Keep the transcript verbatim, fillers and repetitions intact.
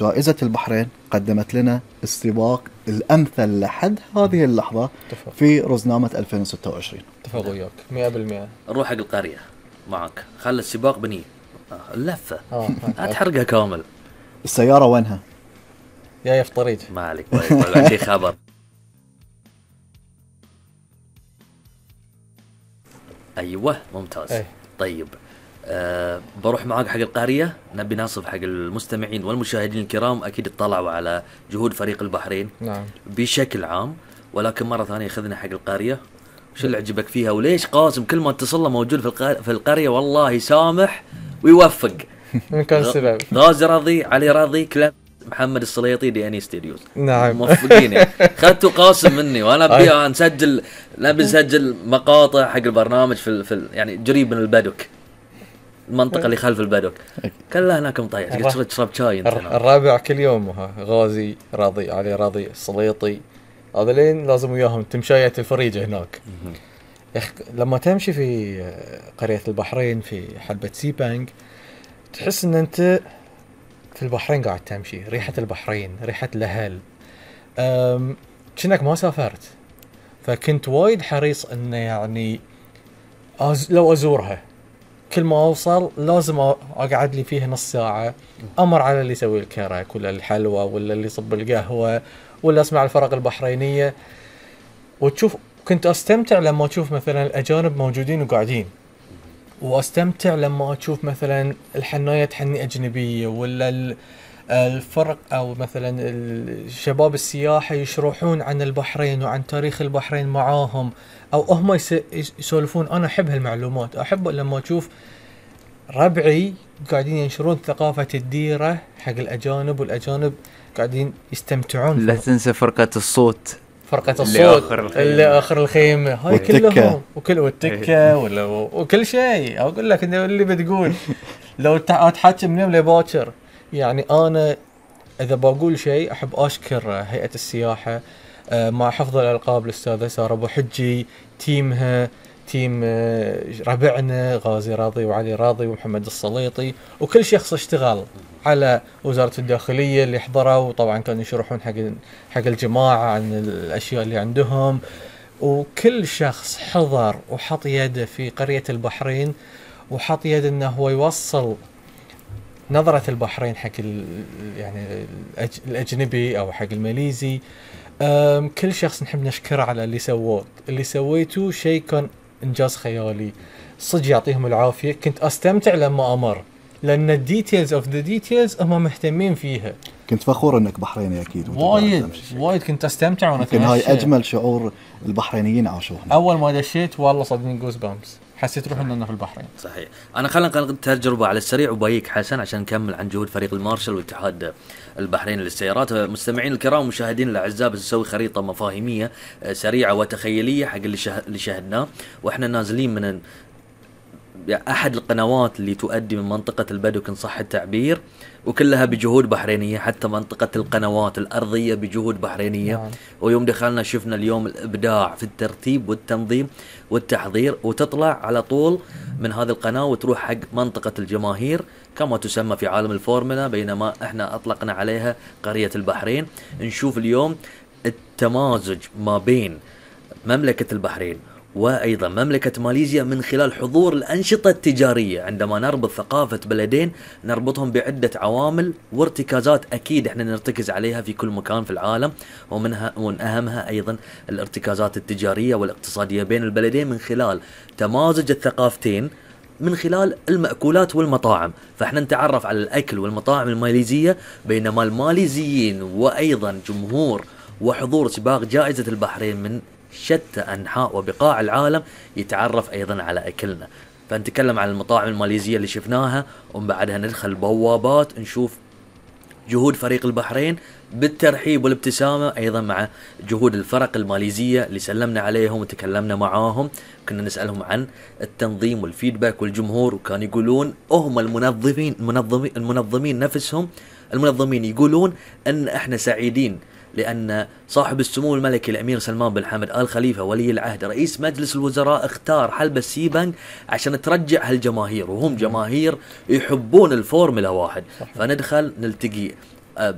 جائزة البحرين قدمت لنا السباق الأمثل لحد هذه اللحظة تفضل. في رزنامة ألفين وستة وعشرين. اتفق وياك مئة بالمئة. نروح حق القرية معك، خلي السباق بني اللفة لا تحرقها كامل. السيارة وينها؟ يا في طريق. ما عليك عندي خبر. أيوة ممتاز. أي. طيب أه بروح معاك حق القارية. نبي نصف حق المستمعين والمشاهدين الكرام أكيد اطلعوا على جهود فريق البحرين نعم. بشكل عام، ولكن مرة ثانية خذنا حق القارية. وش اللي عجبك فيها وليش قاسم كل ما اتصل له موجود في القار... في القرية والله يسامح ويوفق؟ من كان السبب؟ غازي راضي، علي راضي، كلاب محمد السليطي، دي اني ستوديوز. نعم موفقين. خدتوا قاسم مني وانا ابي نسجل، نبي نسجل مقاطع حق البرنامج في, ال... في ال... يعني قريب من البدوك، المنطقة اللي خلف البدوك كلها هناك مطيح. قلت تشرب شاي انت. الرابع كل يوم ها غازي راضي، علي راضي، السليطي، هذا لين لازم وياهم تمشاية الفريجة هناك. يخ... لما تمشي في قرية البحرين في حلبة سيبانج تحس ان انت في البحرين قاعد تمشي، ريحة البحرين، ريحة الأهل، أم... كأنك ما سافرت. فكنت وايد حريص انه يعني أز... لو ازورها كل ما اوصل لازم اقعد لي فيها نص ساعة، امر على اللي يسوي الكرك ولا الحلوى ولا اللي يصب القهوة ولا اسمع الفرق البحرينية، وتشوف. كنت استمتع لما اشوف مثلا الاجانب موجودين وقاعدين، واستمتع لما اشوف مثلا الحناية تحني اجنبية ولا الفرق او مثلا الشباب السياحة يشرحون عن البحرين وعن تاريخ البحرين معاهم، او هم يسولفون. انا احب هالمعلومات، احب لما اشوف ربعي قاعدين ينشرون ثقافة الديرة حق الاجانب، والاجانب قاعدين يستمتعون. لا تنسى فرقة الصوت، فرقة الصوت اللي آخر الخيمة هاي كلهم، وكل والتكة ولا وكل شيء. أقول لك إنه اللي بتقول لو تحكي من يوم لباكر. يعني أنا إذا بقول شيء أحب أشكر هيئة السياحة مع حفظ الألقاب الأستاذة سارة أبو حجي، تيمها، تيم ربعنا غازي راضي وعلي راضي ومحمد السليطي، وكل شخص اشتغل على وزارة الداخلية اللي حضروا، وطبعا كانوا يشرحون حق حق الجماعة عن الأشياء اللي عندهم. وكل شخص حضر وحط يده في قرية البحرين وحط يده انه هو يوصل نظرة البحرين حق يعني الأجنبي أو حق الماليزي. كل شخص نحب نشكره على اللي سووه. اللي سويته شيء كان إنجاز خيالي صدق، يعطيهم العافية. كنت أستمتع لما أمر، لأن الديتيلز أوف ذا ديتيلز هم مهتمين فيها. كنت فخور إنك بحريني أكيد. وايد وايد كنت أستمتع وأنا كان هاي أجمل شعور البحرينيين عاشوه. أول ما دشيت والله صدقني جوز بامس، حسيت روحي إننا في البحرين. صحيح. أنا خلنا نقل تجربة على السريع وبايك حسن عشان نكمل عن جهود فريق المارشال واتحاد البحرين للسيارات. مستمعين الكرام ومشاهدين الأعزاء، بنسوي خريطة مفاهيمية سريعة وتخيلية حق اللي اللي شاهدناه وإحنا نازلين من أحد القنوات اللي تؤدي من منطقة البدو إن صح التعبير، وكلها بجهود بحرينية. حتى منطقة القنوات الأرضية بجهود بحرينية. نعم. ويوم دخلنا شفنا اليوم الإبداع في الترتيب والتنظيم والتحضير، وتطلع على طول من هذه القناة وتروح حق منطقة الجماهير كما تسمى في عالم الفورمولا، بينما احنا أطلقنا عليها قرية البحرين. نشوف اليوم التمازج ما بين مملكة البحرين وأيضا مملكة ماليزيا من خلال حضور الأنشطة التجارية. عندما نربط ثقافة بلدين نربطهم بعدة عوامل وارتكازات أكيد احنا نرتكز عليها في كل مكان في العالم، ومنها ومن أهمها أيضا الارتكازات التجارية والاقتصادية بين البلدين من خلال تمازج الثقافتين من خلال المأكولات والمطاعم. فاحنا نتعرف على الأكل والمطاعم الماليزية، بينما الماليزيين وأيضا جمهور وحضور سباق جائزة البحرين من شتى أنحاء وبقاع العالم يتعرف أيضا على أكلنا. فنتكلم عن المطاعم الماليزية اللي شفناها، ومن بعدها ندخل بوابات نشوف جهود فريق البحرين بالترحيب والابتسامة أيضا مع جهود الفرق الماليزية اللي سلمنا عليهم وتكلمنا معاهم. كنا نسألهم عن التنظيم والفيدباك والجمهور، وكانوا يقولون هم المنظمين المنظمين المنظمين نفسهم المنظمين يقولون أن احنا سعيدين لأن صاحب السمو الملكي الأمير سلمان بن حمد آل خليفة ولي العهد رئيس مجلس الوزراء اختار حلبة سيبانج عشان ترجع هالجماهير، وهم جماهير يحبون الفورمولا واحد. فندخل نلتقي